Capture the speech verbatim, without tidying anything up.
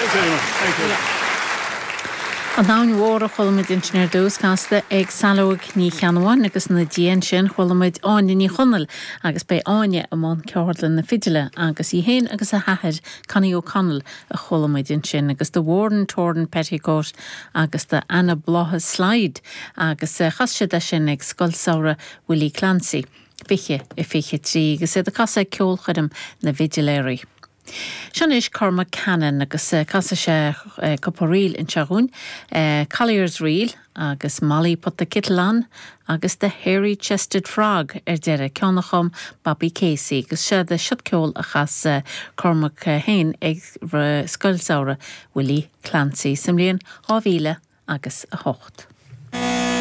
Thanks very much. Thank you. An Abhainn Mhór a chuala muid ansin ar dtús casta ag Saileog Ní Cheannabháin agus ina diaidh sin chuala muid Áine Ní Chonaill agus beidh Áine i mbun ceardlann na fidile agus í féin agus a hathair Connie O'Connell a chuala muid ansin agus The Worn Torn Petticoat agus the Anna Slide agus eh, chas siad é sin ag Scoil Samhraidh Willie Clancy. Fiche i fiche trí agus iad ag casadh ceolchoirm na bhfidiléirí. Seo anois Cormac Cannon agus eh, casfaidh sé eh, cúpla ríl anseo dúinn, eh, Collier's Reel agus Molly put the Kittle on agus the Hairy Chested Frog ar deireadh ceann a chum Bobby Casey agus sé de siod ceol a chas Cormac féin ag Scoil Samhraidh Willie Clancy sa mbliain dhá mhíle agus a hocht.